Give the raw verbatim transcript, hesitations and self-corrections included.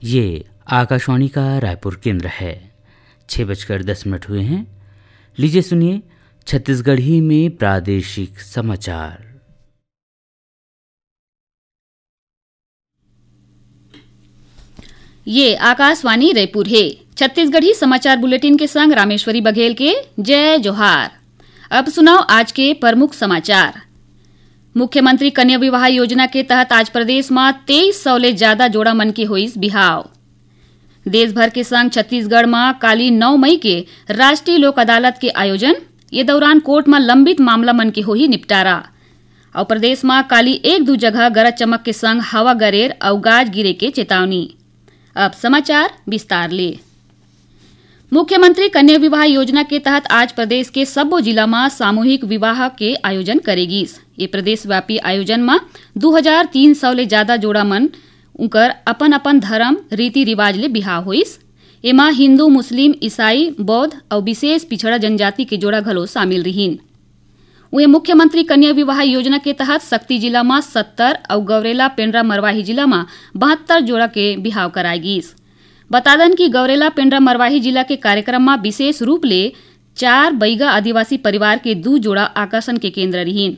ये आकाशवाणी का रायपुर केंद्र है। छह बजकर दस मिनट हुए हैं। लीजिए सुनिए छत्तीसगढ़ी में प्रादेशिक समाचार। ये आकाशवाणी रायपुर हे। छत्तीसगढ़ी समाचार बुलेटिन के संग रामेश्वरी बघेल के जय जोहार। अब सुनव आज के प्रमुख समाचार। मुख्यमंत्री कन्या विवाह योजना के तहत आज प्रदेश म तेईस सौ ले जादा जोड़ा मन के होइस बिहाव। देश भर के संग छत्तीसगढ़ म काली नौ मई के राष्ट्रीय लोक अदालत के आयोजन। ये दौरान कोर्ट म लंबित मामला मन के होही निपटारा। अउ प्रदेश म काली एक दू जगह गरज चमक के संग हवा गरेर अउ गाज गिरे के चेतावनी। अब समाचार विस्तार ले। मुख्यमंत्री कन्या विवाह योजना के तहत आज प्रदेश के सब्बो जिला म सामूहिक विवाह के आयोजन करे गिस। ये प्रदेशव्यापी आयोजन म दू हजार तीन सौ ले जादा जोड़ा मन उंकर अपन-अपन धरम, रीति-रिवाज ले बिहाव होइस। एमा हिंदू, मुस्लिम, ईसाई, बौद्ध अउ विशेष पिछड़ा जनजाति के जोड़ा घलो शामिल रिहीन। उहें, मुख्यमंत्री कन्या विवाह योजना के तहत सक्ती जिला म सत्तर अउ गौरेला पेंड्रा मरवाही जिला म बहत्तर जोड़ा के बिहाव कराय गीस। बता दन कि गौरेला पेंड्रा मरवाही जिला के कार्यक्रम म विशेष रूप ले चार बइगा आदिवासी परिवार के दू जोड़ा आकर्षण के केंद्र रिहीन।